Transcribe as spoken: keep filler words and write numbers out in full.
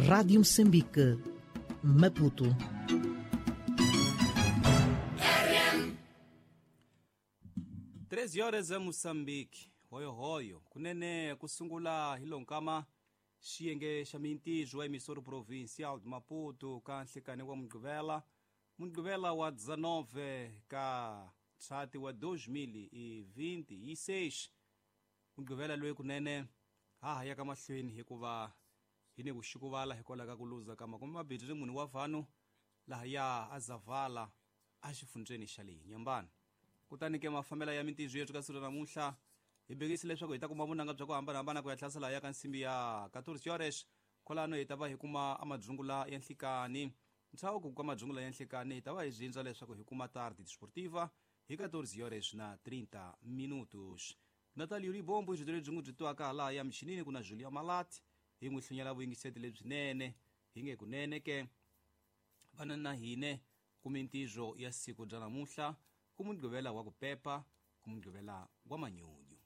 Rádio Moçambique, Maputo. treze horas a Moçambique, hoyo hoyo, kunene kusungula hilonkama xiyenge xa mintijo wa emissora provincial de Maputo ka nhlekani wa Mugqivela, Mugqivela wa dezenove ka ndzhati wa dois mil e vinte e seis. Mugqivela loyi kunene ha ha yaka mahlweni hikuva hi ni vuxikuvala hikwalaho ka ku luza ka makume mambirhi mune wa vanhu lahaya a Zavala exifundzheni xa le Nyambani. Kutani ke mafambela ya mintijo yetu ka siku ra namuntlha hi bekise leswaku hi ta kuma vunanga bya ku hambanahambana ku ya hlasela ya ka nsimbi ya quatorze horas kwalano hi ta va hi kuma amadzungula ya nhlikani. Ntshawu ku madzungula ya nhlikani hi ta va hi zindza leswaku hi kuma tarde desportiva hi quatorze horas na trinta minutos. Natalio Ribombo hi byi n'wi byi twaka laha ya michinini ku na Julia Malati hi n'wi hlunyela vuyingiseti lebyinene hi nge kunene ke vana na hine ku mintijo ya siku bya namuntlha ku Mugqivela wa ku pepa ku Mugqivela wa manyunyu.